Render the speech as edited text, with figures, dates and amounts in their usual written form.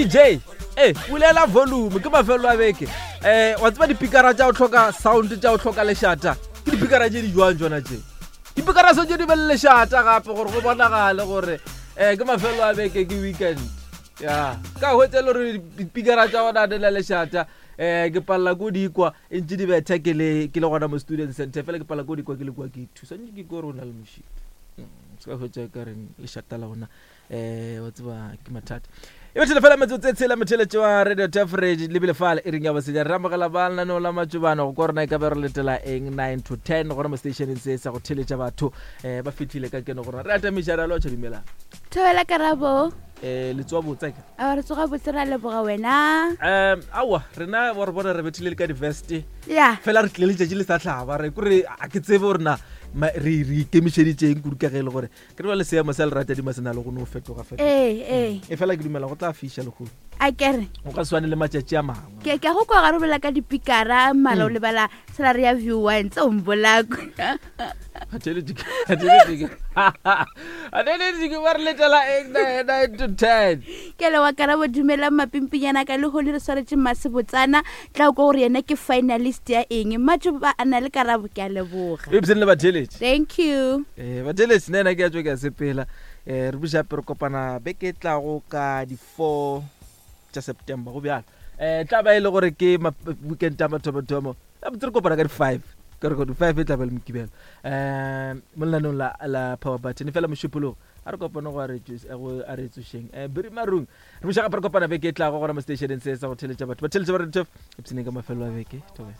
DJ e bulela volume ke mafelo a beke um wa tseba dipikara tša go hloka sound tša go hloka lešata ke dipikara tše di jwang tsona tše dipikara santse di be le lešata gape gore go bonagale gore um ke mafelo a beke ke weekend ya ka hwetsa e le gore dipikara tša gona di na lešata um ke palela ko dikwa e ntse di betha ke le ke le gona mo student center fela ke palela ko dikwa ke le kwa ke thusa ntse ke kore o na le mošito mm, se ka hwetsa ka reng lešata la gona um wa tseba ke mathata e bethele fela metsotso e tshela motheletše wa radio tafrage lebile fale e reng ya bosenya re amogela ba lenaneo la matšobana go kwa rona e ka be re letela eng 9 to 10 gona mo stationeng se sa go theletša batho um ba fitlhile ka keno go rona re atamiša re a lotšha dumelang thobela karabo um le tsoa botse ke a re tsoga botse ra leboga wena um aowa rena wa re bona re bethile le ka di-veste ya fela re tlile letšatši le sa tlhaba re kore a ke tsebe gore na re ikemišeditšeng kudu ka ge e le gore ke re ba le seemo sa leratadima se na le go no fetoga fetoga ee ee e fela ke dumela go tla fiša lehono a kere go ka swane le matšatši a mangwe ke ke go kwa ga robela ka dipikara mara o Mm. lebala salary ya view one tse o mbolako atheletše ba re letela eng nine to ten ke le wa karabo dumelang mapimpinyana ka lehono re swaretše mmasebotsana tla o kwa gore yena ke finalist ya eng matšo ba a na le karabo ke a leboga ebseng le batheletše thank you um batheletše nna ena ke a tswe ke a sepela um re buša gape re kopana beke e tlago ka di-four tša september go bjalo um tla ba e le gore ke weekend ya mathomothomo gabotse re kopana ka di-five ka re di-five e tla ba le mokibelo um mo lenaneong la, la power button fela mošupologo a re kopane go a re tsošeng um beri marung Re buša gape re kopana beke e tlago gona mo stationeng se sa go theletša batho. Ba theletša ba re Epsene ka mafelo a beke. Thobela.